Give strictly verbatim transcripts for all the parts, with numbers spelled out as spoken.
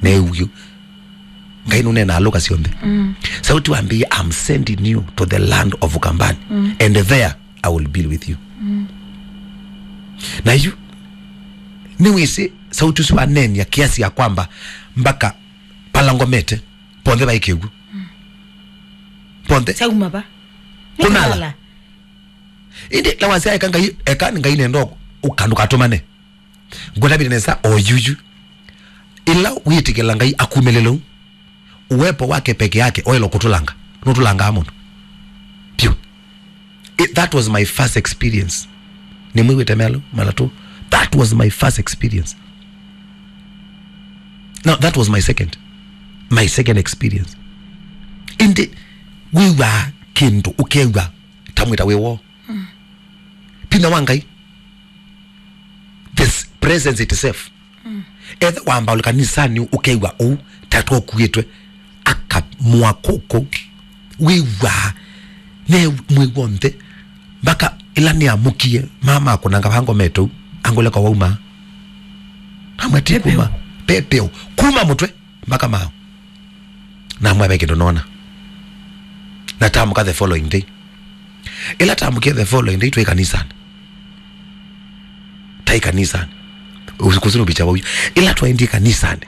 Neew'e. Ngai nũneenaa lũka syonthe. Mm. Sauti wambĩie, "I'm sending you to the land of Ukambani, mm, and there I will be with you." Mm. Na yu, nĩwĩsĩ sauti ũsu waneenia kiasi ya kwamba mpaka pala ngomete, ponthe vaĩ kĩw'ũ. Mm. Ponthe. Kyauma va? Kũnala. Nĩ kũnala. Ĩndĩ la wasya eka Ngai, eka nĩ Ngai nenda ũka ndũkatũmane. Ngũtavile nesa o yuyu. Ĩla wĩtĩkĩla Ngai akumĩlĩle ũu, uwepo wake peke yake oelo kũtũlanga. Nũtũlangaa mũndũ. Piũ. It, that was my first experience. Nĩmwĩw'ĩte Mealu, Malatũ? That was my first experience. No, that was my second. My second experience. Ĩndĩ wĩw'aa kĩndũ, ũkew'a ta mwĩta wĩ woo. Mm. Vinya wa Ngai. This presence itself. Mm. Ethe wamba ũlĩ kanisanĩ ũkew'a ũu, ta twokuĩtwe, akamũa kũkũ, wĩw'aa, ne mwĩ w'onthe, mpaka ĩla nĩamũkie, mama akũnanga vango metou, angũleka wauma. Namwetĩ kuma, pepeo, kuma mũtwe mpaka mao. Namwĩa ve kĩndũ nona. Na tamũka the following day. Ĩla tamũkie the following day, twĩ kanisanĩ. Taĩ kanisanĩ. Usiku sinu bicha wau. Ĩla twaendie kanisanĩ.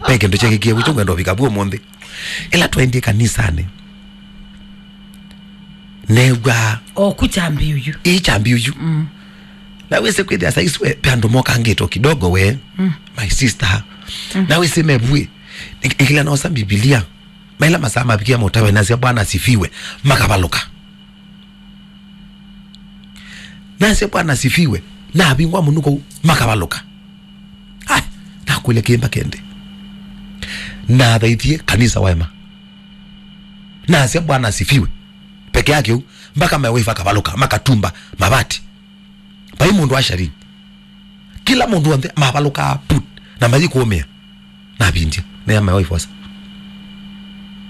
Ve kĩndũ kyekikie, wĩcho ngwenda ũvika vuo mũnthĩ. Ĩla twaendie kanisanĩ. New'a. O ku chambi uyu. Ĩ chambi uyu. Mm. Na wĩsĩ kwĩthĩa saisi we, pe andũ mokangĩtwo kidogo we, mm, my sister. Mm. Na wĩsĩ mevuĩ, ĩkĩla nosa Mbivilia. Maila masaa mavikia mũtawe nasya, "Bwana asifiwe," makavalũka. Nasya, "Bwana asifiwe," navingwa mũnuko, makavalũka. Ai, nakwĩle kĩmba kende. Nathaithie kanisa waema. Nasya, "Bwana asifiwe," peke yake ũu, mpaka my wife akavalũka, makatumba mavati. Vai mũndũ wa sharini. Kĩla mũndũ onthe mavalũkaa put, na mathi kũũmĩa. Navindya, nea my wife wasa.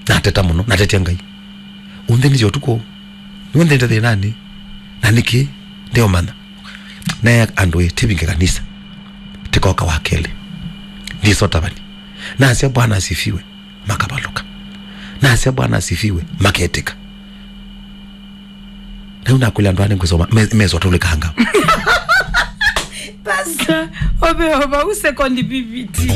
Nateta mũno, natetia Ngai. Ũnthĩnisye ũtukũ. Nĩwe nthĩnĩte thĩnanĩ. Na nĩkĩ? Ndeũmanya. Nea andũ ĩ, tivinge kanisa. Tikoka wa kelĩ. Ndisotavani. Nasya, "Bwana asifiwe." Makavalũka. Nasya, "Bwana asifiwe," maketĩka. Rĩu nakwĩla andũ aa nĩngũsoma, me-, meso tũlĩkanga. Pastor, ove ova u second viviti.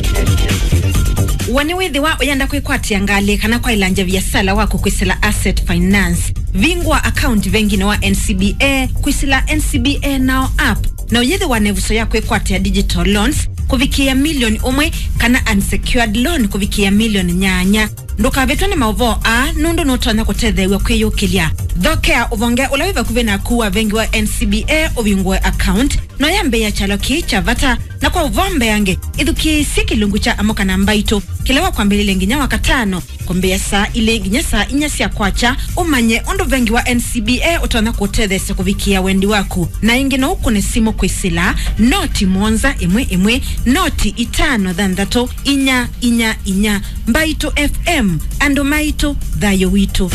Wa nĩwĩthĩwa ũyenda kwĩkwatĩa ngalĩ kana kwaĩlangya viasala waku kwĩsĩla Asset Finance, vingũa account venginĩ wa N C B A kwĩsĩla N C B A Now app, na ũyĩthĩwa na ĩvuso ya kwĩkwatĩa digital loans kũvikĩĩa milioni ũmwe kana unsecured loan kũvikĩĩa milioni nyanya. Ndũkavĩtwe nĩ maũvoo aa, nũndũ nũtonya kũtetheew'a kwĩyũkĩlya. Thokea ũvonge ũla wĩ vakuvĩ naku wa vengi wa N C B A ũvingũe account, na ũyambĩĩa kyalo kĩĩ kya vata. Na kwa ũvoo mbeange, ĩthukĩĩsye kĩlungu kya Amũka na Mbaitũ, kĩla wa kwambĩlĩlya nginya wa katano, kũmbĩĩa saa ilĩ nginya saa inya sya kwakya, ũmanye ũndũ vengi wa N C B A ũtonya kũũtetheesya kũvikĩĩa wendi waku. Na ĩngĩ, no ũkũne simũ kwĩsĩla noti mũonza ĩmwe ĩmwe, noti itano thanthatũ, inya inya inya. Mbaitũ F M, andũ maitũ, thayũ witũ.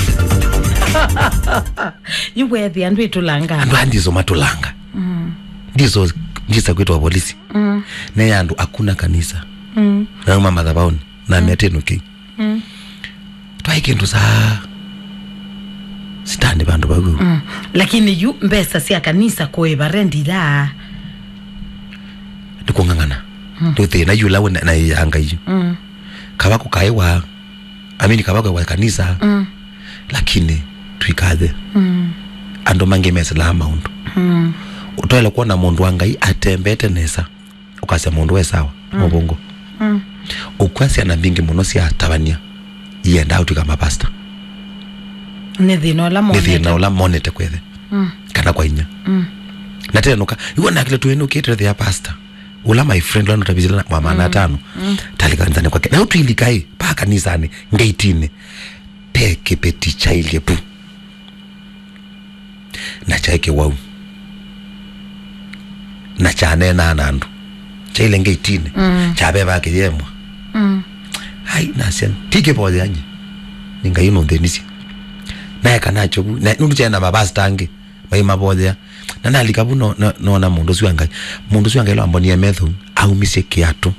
Yu weethĩa andũ ĩtũlanga. Andũ aa ndiso matũlanga. Mm. Ndiso, ndisa kwĩtwa polisi. Mm. Neya andũ, "Hakuna kanisa." Mm. Nauma mathabaũnĩ, na, mm, mĩatĩnũkĩ. Mm. Twaĩ kĩndũ saa sitani vandũ vau. Mm. Lakini yu mbesa sya kanisa kũĩva rendi ila. Nĩ kũng'ang'ana. Mm. Nĩ thĩna yu ũla wĩ na, na ya Ngai. Mm. Kava kũkaĩwa, amini, kava kũkaĩwa kanisa. Mm. Lakini twikathe. Mm. Andũ mangĩ mesĩlaa maũndũ. Mm. Ũtoele kwona mũndũ wa Ngai atembete nesa. Ũkasya mũndũ we sawa, mm, mũvũngũ. Mm. Ũkw'a syana mbingĩ mũno sya tavany'a iendaa ũtw'ĩka mapasta. Nĩ thĩna ũla, nĩ thĩna monete, ũla monete kwa ĩthe. Mm. Kana kwa inya. Mm. Na tenũka, iw'o nakile tũinũkĩte thĩa pasta. Ũla my friend ũla nũtavisile na wa maana, mm, atano. Mm. Talĩ kanisani kwake. Na ũtwilika ĩ, pa kanisanĩ, ngeitinĩ. Pe kĩveti kyailye pu. Na kyaĩ kĩwau. Na kyaneenaa na andũ. Kyaile ngeitinĩ. Mm. Kyavevaa kĩyemwa. Mm. Ai, nasya, ti kĩvoyea nyie. Nĩ Ngai nũnthĩnisye. Naeka nakyo vu. Na nũndũ kyaĩ na mavasta angĩ. Maimavoyea. Na nalika vu no-, no-, noona mũndũ ũsu wa Ngai. Mũndũ ũsu wa Ngai lwambonie metho. Aumisye kĩatũ.